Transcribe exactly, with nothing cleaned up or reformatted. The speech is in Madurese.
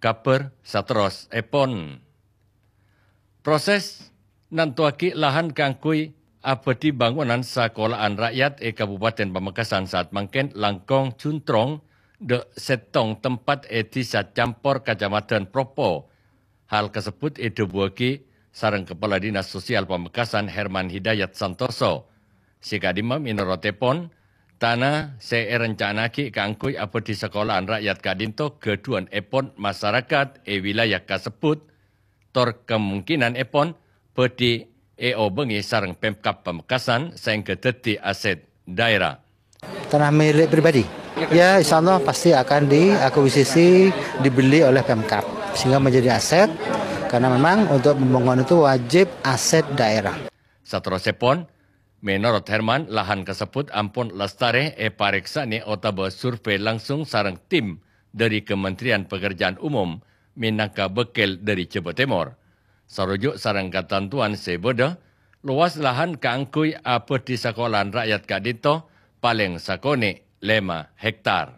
kabhâr saterrossèpon. Proses nantowaghi lahan kaangghuy abâdhi bangunan sakola'an ra'yat è Kabupaten Pamekasan saat mangkèn langkong juntrong dâ' sèttong tempat è Dhisa Campor, Kacamadhân Propo. Hal kasebbhut èdhâbuwâghi sareng Kepala Dinas Sosial Pamekasan Herman Hidayat Santoso. Sè ka'dimma mènorotèpon, tana sè èrencana'aghi kaangghuy abâdhi sakola'an ra'yat ka'dinto ghâdhuwânèpon masarakat è wilayah kasebbhut, tor kamongkinanèpon bhâdhi èobângè sareng Pemkab Pamekasan saèngghâ dhâddhi asèt dhaèra. Tanah milik pribadi. Ya, insya Allah pasti akan diakuisisi, dibeli oleh Pemkab, sehingga menjadi aset, karena memang untuk pembangunan itu wajib aset daerah. Saterrossèpon, mènorot Herman, lahan kasebbhut ampon lastarè èparèksanè otabâ survei langsung sareng tim dâri Kementerian Pekerjaan Umum mènangka bâkkèl dâri Jhâbâ Tèmor. Saroju' sareng katantowan sè bâdâ, lowas lahan kaangghuy abâdhi sakola'an ra'yat ka'dinto palèng sakonè' lèma hektar.